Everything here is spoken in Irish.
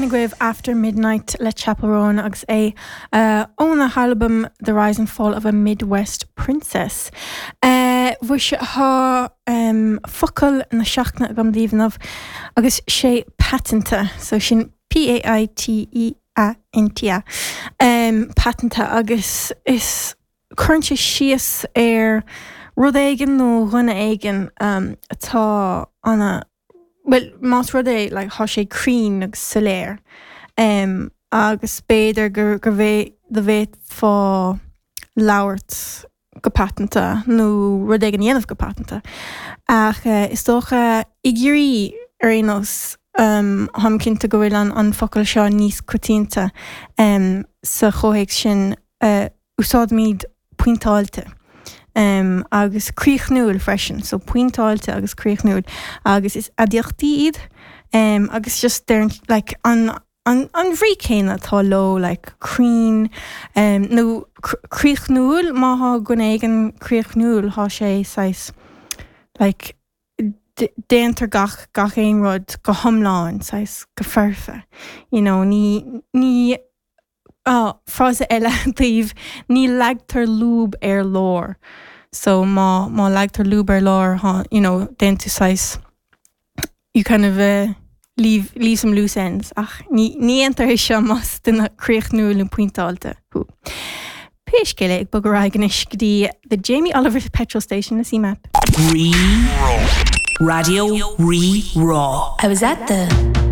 Sin agaibh After Midnight le Chappell Roan agus é óna halbam The Rise and Fall of a Midwest Princess. Mhuise tá focal na seachtaine agam daoibh inniu agus sé paiteanta, so sin P-A-I-T-E-A-N-T-A, paiteanta agus is cuireann sé síos ar rud éigin nó dhuine éigin atá ana bhuel, más rud é, like, thá sé cruinn agus soiléir, em, agus b'fhéidir go, go bhfé, go bhféadfá labhairt go paiteanta nó rud éigin a dhéanamh go paiteanta. Ach, eh, is dócha, i gCiarraí, ar aon nós, em, táim cinnte go bhfuil an, an focal seo níos coitianta, em, sa chomhthéacs sin, eh, úsáidimid pointeáilte agus críochnúil freisin, so pointeáilte agus críochnúil agus is aidiachtaí iad agus just deireann like an an an bhrí céanna atá leo like cruinn nó críochnúil má thá duine éigin críochnúil thá sé saghas like déantar gach gach aon rud go hiomlán saghas go foirfe you know ní ní Ah, frása eile daoibh, ní leagtar lúb ar lár. So má, má leagtar lúb ar lár, thá, you know, déanann tú saghas, you kind of eh, leave, leave some loose ends. Ach ní, ní dhéantar é seo más duine críochnúil nó pointeáilte thú. Pé scéal é, ag bogadh ar aghaidh anois go dtí The Jamie Oliver Petrol Station le CMAP. Rí Rá. Raidió Rí Rá. I was at the.